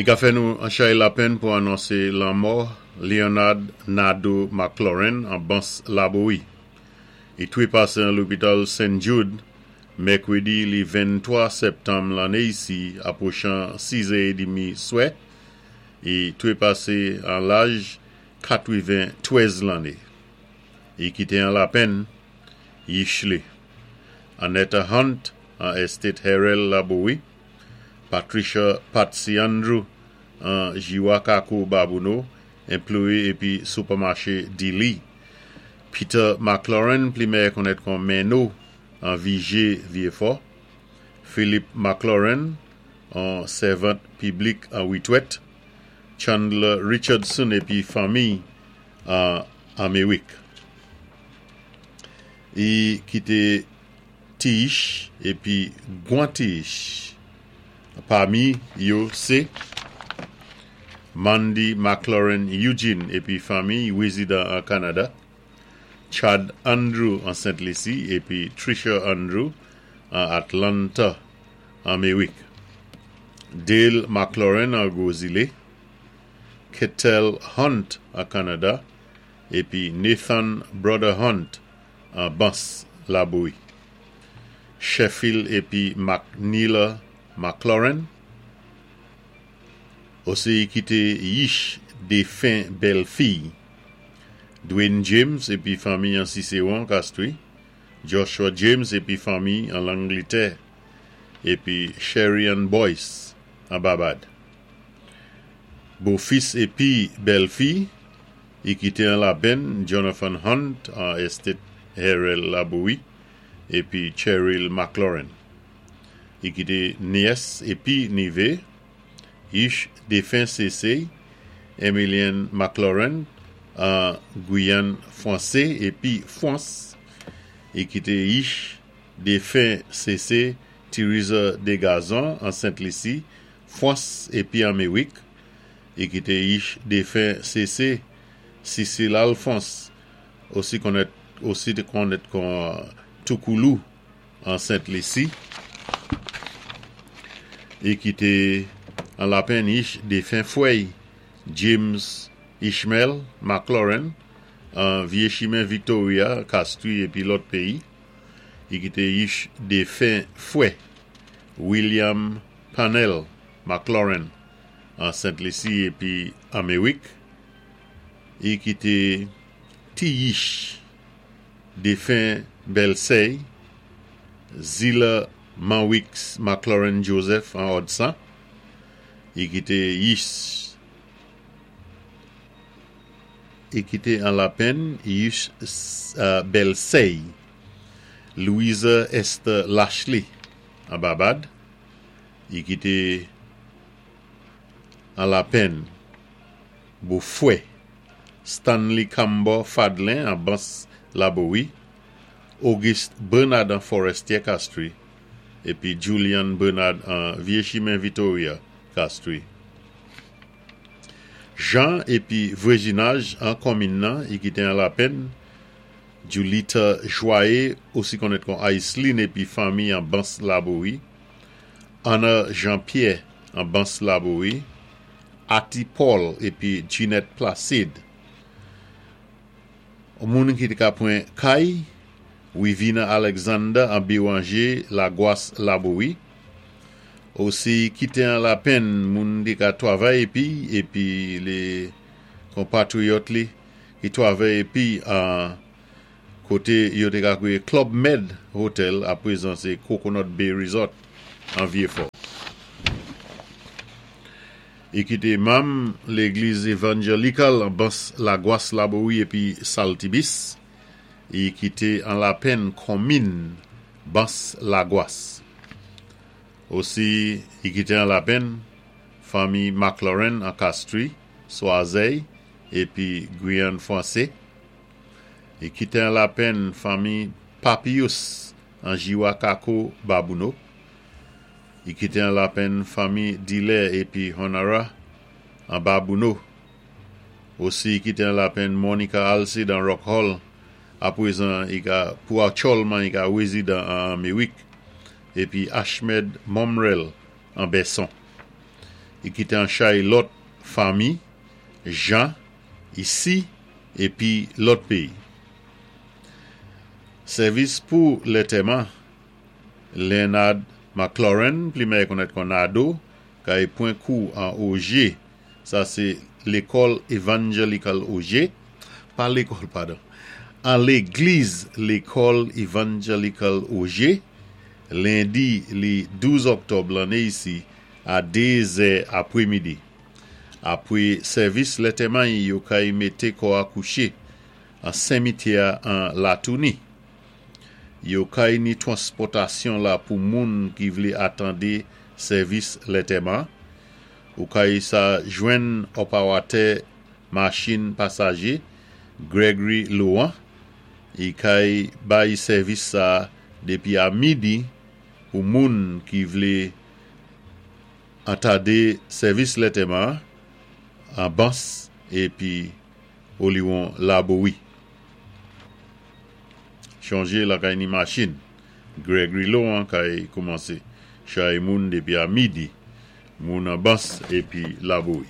I ka fè nou an chay lapenn pou anonsé lanmò Leonard Nadeau McLaurin an Bans Labowi. I twépasé an lopital St. Jude mèkwédi li 23 sèptanm lanné isi apwochan 6 è édmi swè. I twépasé an laj 93 lanné. I kité an lapenn yich li Annetta Hunt an Estate Herel Labowi, Patricia Patsy Andrew an Jiwa Kako Babouno, enployé épi soupèmaché Dilly, Peter McLaurin pli mèyè konnèt kon Menno an Vijé Vyéfò, Philip McLaurin an sèvant piblik an Witwèt, Chandler Richardson épi fanmiy an Anméwik. I kité Tiyich épi gwan tiyich. Pami yo sé Mandy McLaurin Eugene épi fanmiy wézidan an Kanada, Chad Andrew an Sent Lisi épi Trisha Andrew an Atlanta Anméwik, Dale McLaurin an Gwo Zilé, Ketel Hunt an Kanada épi Nathan Brother Hunt an Bans Labowi, Sheffield épi McNeela McLaurin. Osi i kité yich défen bèlfiy Dwayne James épi fanmiy an Siséwon, Kastwi, Joshua James épi fanmiy an Langlitè épi Sherry-Ann Boyce an Babad. Bofis épi bèlfi i kité an lapenn Jonathan Hunt an Estate Herel Labowi épi Cheryl McLaurin. I kité nyès épi nivé yich défen Sésé Emilienne McLaurin an Gwiyann Fwansé épi Fwans. I kité yich défen Sésé Theresa Degazon an Sent Lisi, Fwans épi Anméwik. I kité yich défen Sésé Cecile Alphonse osi konnèt osi té konnèt kon Toukoulou an Sent Lisi. I kité an lapenn yich défen fwèy James Ishmael McLaurin an Vyé Chimen Victoria, Kastwi épi lòt péyi. I kité yich défen fwè William Parnell McLaurin an Sent Lisi épi Anméwik. I kité ti yich défen bèlsèy Zila Manwix McLaurin Joseph an Òdsan. I kité yich I kité an lapenn yich bèlsèy Louisa Esther Lashley an Babad. I kité an lapenn bofwè Stanley Cambor Fadlin an Bans Labowi, Auguste Bernard an Forestier Castries épi Julian Bernard an Vye Chimen Vitoria, Castries. Jan épi vwézinaj an konminn nan i kité an lapenn Julita Joye osi konnèt kon Iceline épi fanmi an Bans Labowi, Anna Jean Pierre an Bans Labowi, Ati Paul épi Ginette Placide. Moun ki té ka pwan kay, Wivina Alexander an Béranger Lagwas Labowi. Osi kité an lapenn moun ki ka twavay épi épi lé konpatriyòt li ki twavay épi an koté yo té ka kwiyé Club Med Hotel apwézan sé Coconut Bay Resort an Vyéfò. I kité manm légliz evanjelikal an Bans Lagwas Labowi épi Saltibis. I kité an lapenn konminn Bans Lagwas. Osi i kité an lapenn fanmi McLaurin an Kastri, Swazèy épi Gwiyann Fwansé. I kité an lapenn fanmi Papius an Jiwa Kako Babouno. I kité an lapenn fanmi Dilè épi Honora an Babouno. Osi i kité an lapenn Monica Alcide an Rock Hall, apwézan i ka pou aktyòlman i ka wézidan an Anméwik, épi Ashmed Momrel an Bèson. I kité an chay lòt fanmi, jan, isi épi lòt péyi. Sèvis pou lantèman Leonard McLaurin, pli mèyè konnèt kon Nado, kay pwan kou an Ogé. Sa sé lékòl Evangelical Ogé, pa lékòl, padon, an légliz lékòl Evangelical Ogé, lendi li 12 òktòb lanné isi a 2 zè apwémidi. Apwé sèvis lantèman yo kay mété kò a kouché an senmityè an Latouni. Yo kay ni twanspòtasyon la pou moun ki vlé atandé sèvis lantèman. Ou kay sa jwenn òpawatè machin pasajé Gregory Laurent. I kay bay sèvis sa dépi a midi pou moun ki vlé antadé sèvis lantèman an Bans épi Oliwon Labowi. Chonjé lakay ni machin. Gregory Laurent kay koumansé chay moun dépi a midi. Moun an Bans épi Labowi.